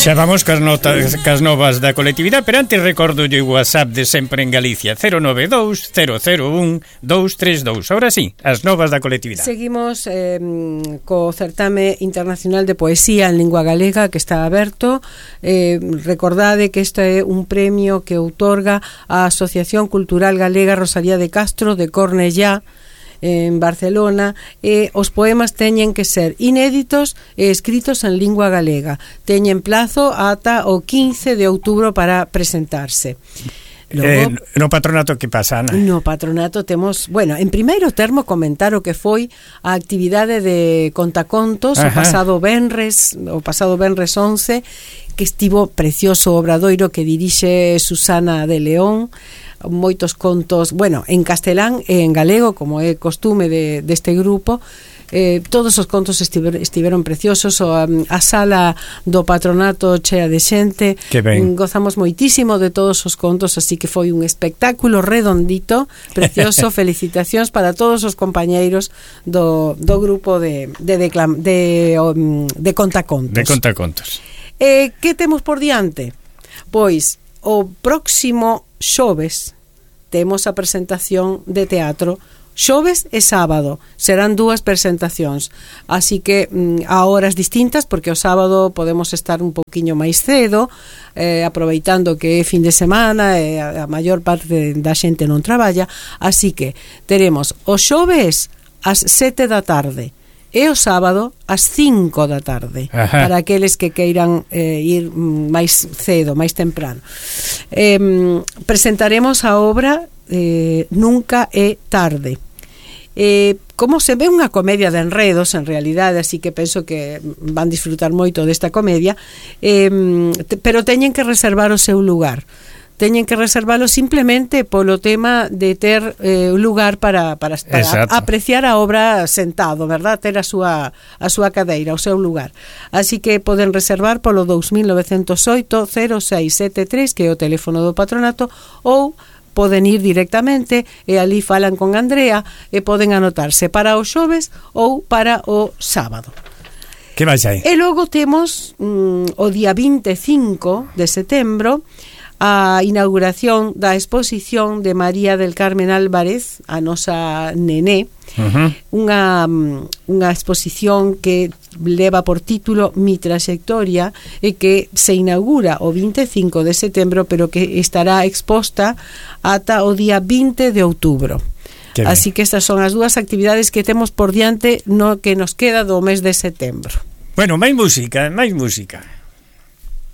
Xa vamos cas novas da colectividade, pero antes recordo o WhatsApp de sempre en Galicia, 092 001 232. Ahora sí, as novas da colectividade. Seguimos co certame internacional de poesía en lingua galega que está aberto. Recordade que este é un premio que outorga a Asociación Cultural Galega Rosalía de Castro de Cornellá en Barcelona, e os poemas teñen que ser inéditos e escritos en lingua galega. Teñen plazo ata o 15 de outubro para presentarse. Logo, no patronato que pasa, Ana? No patronato temos, bueno, en primeiro termo comentar o que foi a actividade de contacontos o pasado venres 11, que estivo precioso o obradoiro que dirixe Susana de León, moitos contos, bueno, en castelán e en galego, como é costume deste grupo. Todos os contos estiveron preciosos. A sala do patronato chea de xente, gozamos moitísimo de todos os contos, así que foi un espectáculo redondito, precioso. Felicitacións para todos os compañeiros do grupo de contacontos. De contacontos. Que temos por diante? Pois o próximo xoves temos a presentación de teatro. Xoves e sábado serán dúas presentacións, así que a horas distintas, porque o sábado podemos estar un poquinho máis cedo, aproveitando que é fin de semana e a maior parte da xente non traballa, así que teremos o xoves ás 7 da tarde e o sábado ás 5 da tarde. Para aqueles que queiran ir máis cedo, máis temprano. Presentaremos a obra Nunca é tarde. Como se ve, unha comedia de enredos en realidade, así que penso que van disfrutar moito desta comedia, pero teñen que reservar o seu lugar. Teñen que reservalo simplemente polo tema de ter lugar para apreciar a obra sentado, verdad? Ter a súa cadeira, o seu lugar. Así que poden reservar polo 2908 0673, que é o teléfono do patronato, ou poden ir directamente e ali falan con Andrea e poden anotarse para o xoves ou para o sábado. Que vai aí? E logo temos o día 25 de setembro a inauguración da exposición de María del Carmen Álvarez, a nosa nené, unha exposición que leva por título Mi Trayectoria e que se inaugura o 25 de setembro, pero que estará exposta ata o día 20 de outubro. Así que estas son as dúas actividades que temos por diante no que nos queda do mes de setembro. Bueno, máis música.